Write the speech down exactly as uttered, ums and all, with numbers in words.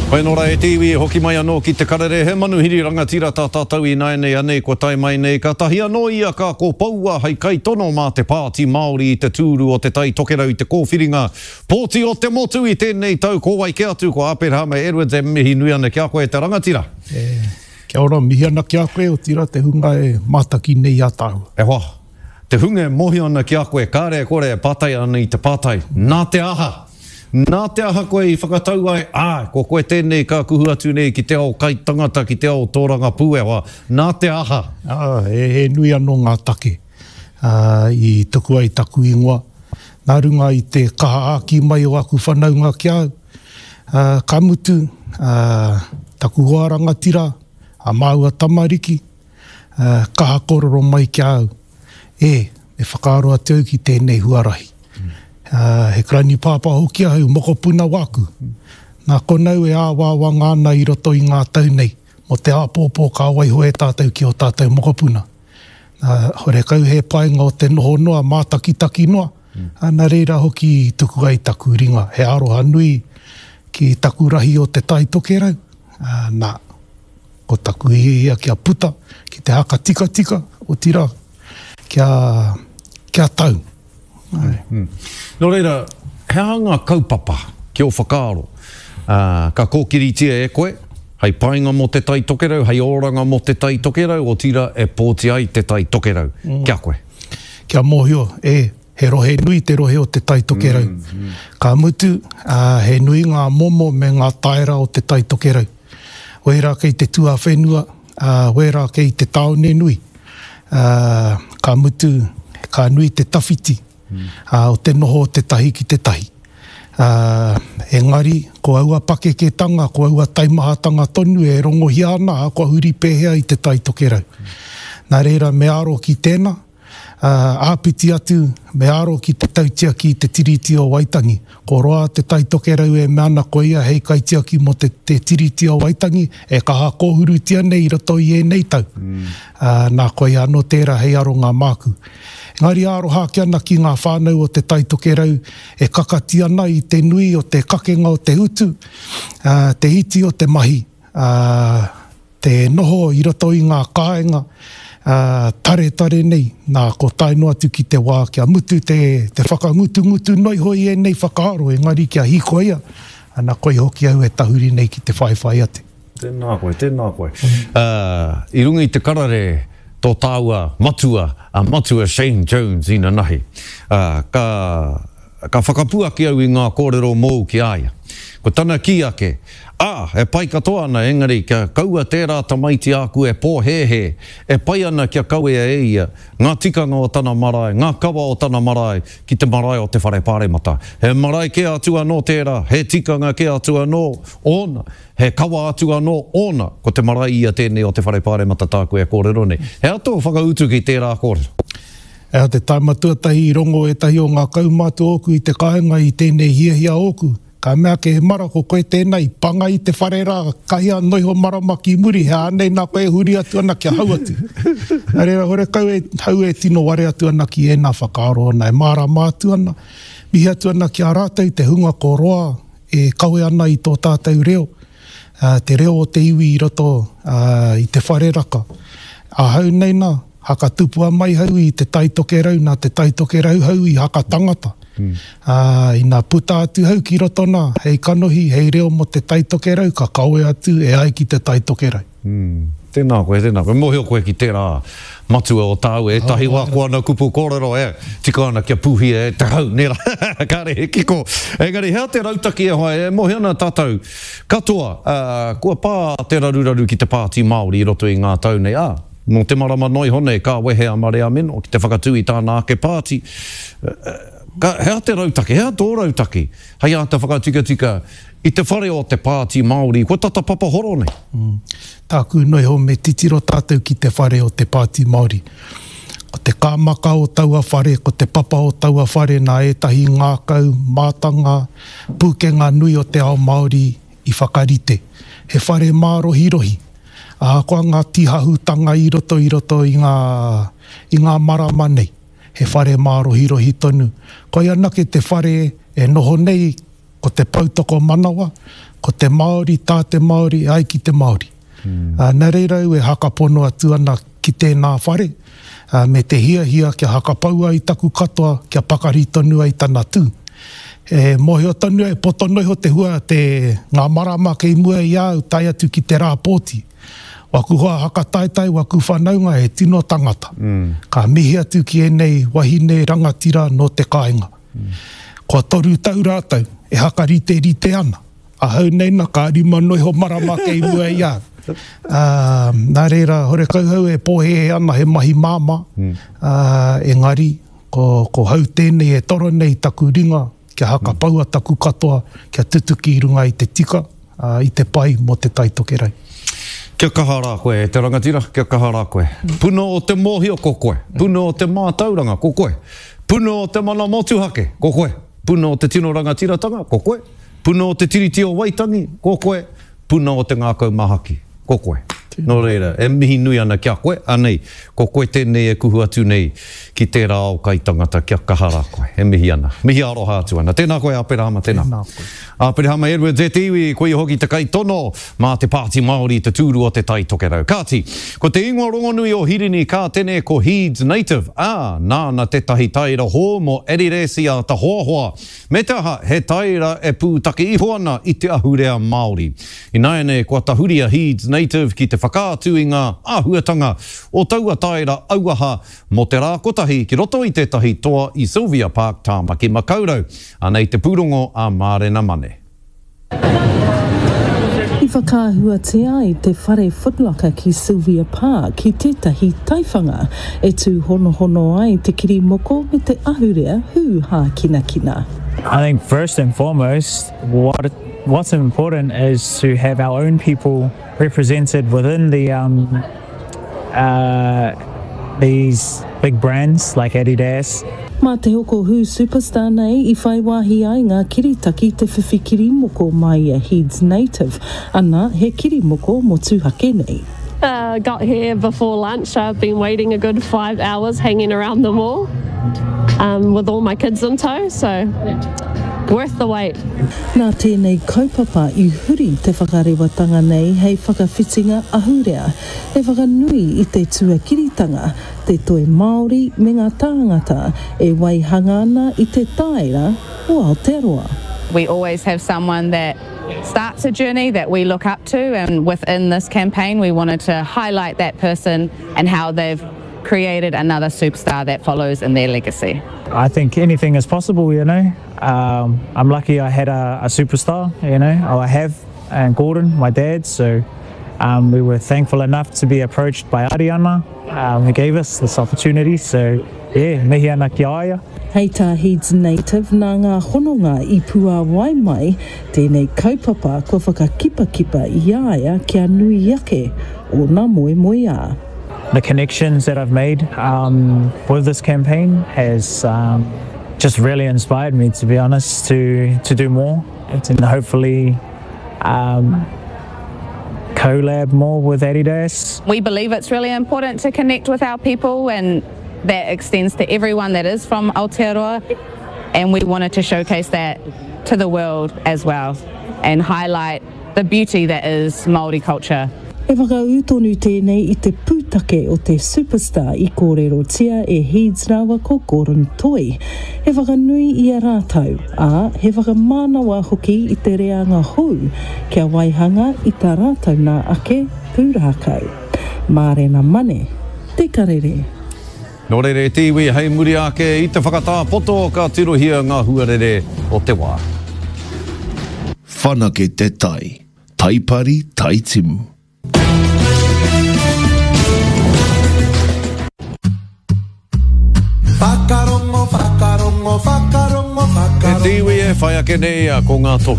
Whainora e te iwi, hoki mai anō ki te karere, he manuhiri rangatira tā tātou ināianei anei kua tae mai nei, kātahi anō ia ka kōpoua hei kaitono mā te Pāti Māori i te tūru o Te Tai Tokerau i te kōwhiringa pōti o te motu i tēnei tau, ko wai kē atu, ko Aperahama Edwards e mihi nui ana ki a koe e te rangatira. E, kia ora, mihi ana ki a koe, otirā te hunga e mātaki nei i a tāua. E hoa, te hunga e mōhio ana ki a koe, kāre e kore e pātai ana i te pātai, nā te aha? Nā te aha koe i whakatau ai, āe, ko koe tēnei ka kuhu atu nei ki te ao kaitangata, ki te ao tōrangapū e hoa, nā te aha? Ā, he, he nui anō ngā take ā, i tuku ai taku ingoa. Nā runga i te kaha āki mai o aku whanaunga ki a au, ā, ka mutu, ā, taku hoa rangatira, a māua tamariki, ā, kaha kōrero mai ki a au, e, me whakaaro atu au ki tēnei huarahi. Ā, he karani pāpā hoki ahau, mokopuna wāku. Nā konau e āwangawanga ana i roto i ngā tau nei, mō te āpōpō ka waiho e tātou ki ō tātou mokopuna. Nā, horekau he painga o te noho noa, mātakitaki noa, ā, nā reira hoki i tuku ai taku ringa, he aroha nui ki taku rahi o Te Tai Tokerau, ā, nā, ko taku hiahia kia puta ki te haka tikatika, otirā, kia, kia tau. Mm. Nō reira, he aha ngā kaupapa ki ō whakaaro, ā, ka kōkiritia e koe, hei painga mō Te Tai Tokerau, hei oranga mō Te Tai Tokerau, otirā e pōti ai Te Tai Tokerau mm. ki a koe? Kia mōhio, e, he rohe nui te rohe o Te Tai Tokerau. Mm, mm. Ka mutu, ā, he nui ngā momo me ngā taera o Te Tai Tokerau. Wērā kei te tuawhenua, ā, wērā kei te tāone nui. Ā, ka mutu, ka nui te tawhiti ā, o te noho o te tahi ki te tahi. Ā, engari, ko aua pakeketanga, ko aua taimahatanga tonu e rongohia ana, ā, kua huri pēhea i Te Tai Tokerau. Nā reira, me aro ki tēnā, ā, āpiti atu, me aro ki te tautiaki i te Tiriti o Waitangi. Ko roa Te Tai Tokerau e mea ana ko ia hei kaitiaki mō te, te Tiriti o Waitangi e kaha kōhurutia nei i roto i ēnei tau. Ā, nā, koia anō tērā hei aronga māku. Engari aroha ake ana ki ngā whānau o Te Tai Tokerau e kakati ana i te nui o te kakenga o te utu, ā, te iti o te mahi, ā, te noho i roto i ngā kāinga, ā, taretare nei, nā, ko tae noa atu ki te wā kia mutu te, te whakangutungutu noa iho i ēnei whakaaro, engari kia hīkoia, ana koia hoki au e tahuri nei ki te whaiwhai atu. Tēnā koe, tēnā koe. Ā, i runga i te karere tō tāua matua, a Matua Shane Jones inanahi. Ā, ka, ka whakapuaki au i ngā kōrero mōu ki a ia. Ko tana kī ake, Ā, e pai katoa ana, engari kia kaua tērā tamaiti āku e pōhēhē, e pai ana kia kawea e ia ngā tikanga o tana marae, ngā kawa o tana marae ki te marae o te whare paremata. He marae kē atu anō tērā, he tikanga kē atu anō ōna, He kawa atu anō ōna, ko te marae ia tēnei o te Whare Pāremata tāku e kōrero nei. He aha tō whakautu ki tērā kōrero? He aha te taima tuatahi i rongo ētahi o ngā kaumātua ōku i te kāinga i tēnei hiahia ōku? Ka mea ake, E mara, ko koe tēnā i panga i te whare rā, kahi a noiho marama ki muri, he ānei nā koe e huri atu ana kia hau atu. Nā reira, horekau e hau e tino ware atu ana ki ēnā whakaaro ōna, e mārama atu ana, mihi atu ana ki a rātou te hunga ko roa e kawe ana i tō tātou reo, te reo o te iwi i roto i te whare raka. Ahau nei nā, haka tupua mai hau i Te Tai Tokerau, nā Te Tai Tokerau hau i haka tangata. Ā, ina puta atu hau ki roto nā, hei kanohi, hei reo mō Te Tai Tokerau, ka kawe atu e ai ki Te Tai Tokerau. Tēnā koe, tēnā koe. Mōhio koe ki tērā matua o tāu, ētahi wā ko ana kupu kōrero e tika ana kia pūhia e te hau, nē rā? Kāre he kiko. Engari he aha te rautaki e hoa, e mōhio ana tātou katoa, ā, kua pā te raruraru ki te Pāti Māori i roto i ngā tau nei, ā, nō te marama noa iho nei ka wehe a Marea Meno ki te whakatū i tāna ake pāti. Ka, he aha te rautaki, he aha tō rautaki hei āta whakatikatika i te whare o te Pāti Māori kua tata papahoro nei? Tāku noa iho me titiro tātou ki te whare o te Pāti Māori. Ko te kāmaka o taua whare, ko te papa o taua whare nā ētahi ngākau, mātanga, pūkenga nui o te ao Māori i whakarite. He whare mārohirohi. Ahakoa ngā tīhahutanga i roto i roto i ngā, i ngā marama nei, he whare mārohirohi tonu. Koia anake te whare e noho nei ko te poutokomanawa, ko te Māori, tā te Māori, ai ki te Māori. Mm. Uh, nā reira au e hakapono atu ana ki tēnā whare, uh, me te hiahia kia hakapaua i taku katoa, kia pakari tonu ai tana tū. E mōhio tonu e poto noa iho te hua te ngā marama kei mua i a au tae atu ki te rā pōti. Waku hoa hakataetae, waku whanaunga he tino tangata. Mm. Ka mihi atu ki ēnei wahine rangatira nō te kāinga. Mm. Kua toru tau rātou e hakariterite ana. Ahau nei na ka rima noa iho marama kei mua i a au. Uh, nā reira, horekau hau e pōhēhē ana he mahi māmā, mm. uh, engari, ko, ko hau tēnei e toro nei taku ringa, kia hakapaua taku katoa, kia tutuki i runga i te tika, uh, i te pai mō te Tai Tokerau. Kia kaha rā koe e te rangatira, kia kaha rā koe. Puna o te mōhio ko koe, puna o te mātauranga ko koe, puna o te mana motuhake ko koe, puna o te tino rangatiratanga ko koe, puna o te Tiriti o Waitangi ko koe, puna o te ngākau mahaki ko koe. Nō reira, e mihi nui ana ki a koe, anei, ko koe tēnei e kuhu atu nei ki tērā ao kai tangata kia kaha rā koe. E mihi ana. Mihi aroha atu ana. Tēnā koe, Aperahama, tēnā. Tēnā koe. Aperahama Edwards e te iwi, koia hoki te kaitono mā te Pāti Māori te tūru o Te Tai Tokerau. Kāti, ko te ingoa rongonui o Hirini Kātene ko Heeds Native, ā, nāna tētahi taera hou mō Adidas i āta hoahoa. Me te aha, he taera e pūtake iho ana i te ahurea Māori. Ināianei kua tahuri a Heeds Native ki te whakaatu i ngā āhuatanga o taua taera auaha mō te rā kotahi ki roto i tētahi toa i Sylvia Park, Tāmaki Makaurau. Anei te pūrongo a Mārena Mane. I whakaahuatia ai te whare Footlocker ki Sylvia Park ki tētahi taiwhanga e tūhonohono ai te kirimoko me te ahurea hū hākinakina. I think first and foremost, what what's important is to have our own people represented within the um, uh, these big brands like Adidas. Mā te hoko hū superstar nei i whai wāhi ai ngā kiritaki te whiwhi kirimoko mai i a Heeds Native, ana he kirimoko motuhake nei. Uh, got here before lunch. I've been waiting a good five hours hanging around the mall um, with all my kids in tow, so worth the wait. Nā tēnei kaupapa i huri te whakarewatanga nei hei whakawhitinga ahurea, he whakanui i te tuakiritanga, te toi Māori me ngā tāngata e waihanga ana i te taera o Aotearoa. We always have someone that starts a journey that we look up to, and within this campaign we wanted to highlight that person and how they've created another superstar that follows in their legacy. I think anything is possible, you know. Um, I'm lucky I had a, a superstar, you know, oh, I have, and Gordon, my dad, so um, we were thankful enough to be approached by Ariana, um, who gave us this opportunity, so yeah, mihi ana ki a ia. Hei tā Heeds Native nā ngā hononga i puāwai mai tēnei kaupapa kua whakakipakipa i a ia kia nui ake ōna moemoeā. The connections that I've made um, with this campaign has um, just really inspired me, to be honest, to, to do more and hopefully um, collab more with Adidas. We believe it's really important to connect with our people, and that extends to everyone that is from Aotearoa, and we wanted to showcase that to the world as well and highlight the beauty that is Māori culture. E whakaū tonu tēnei i te pūtake o te superstar i kōrerotia e Heeds rāua ko Gordon Toi. He whakanui i a rātou, ā, he whakamānawa hoki i te reanga hou kia waihanga i tā rātou nā ake pūrākau. Mārena Mane, Te Karere. Nō reira e te iwi, hei muri ake i te whakatā poto ka tirohia ngā huarere o te wā. Whanake te tai, taipari, taitimu. Whakarongo, whakarongo, whakarongo, E te iwi e whai ake nei ko ngā tohu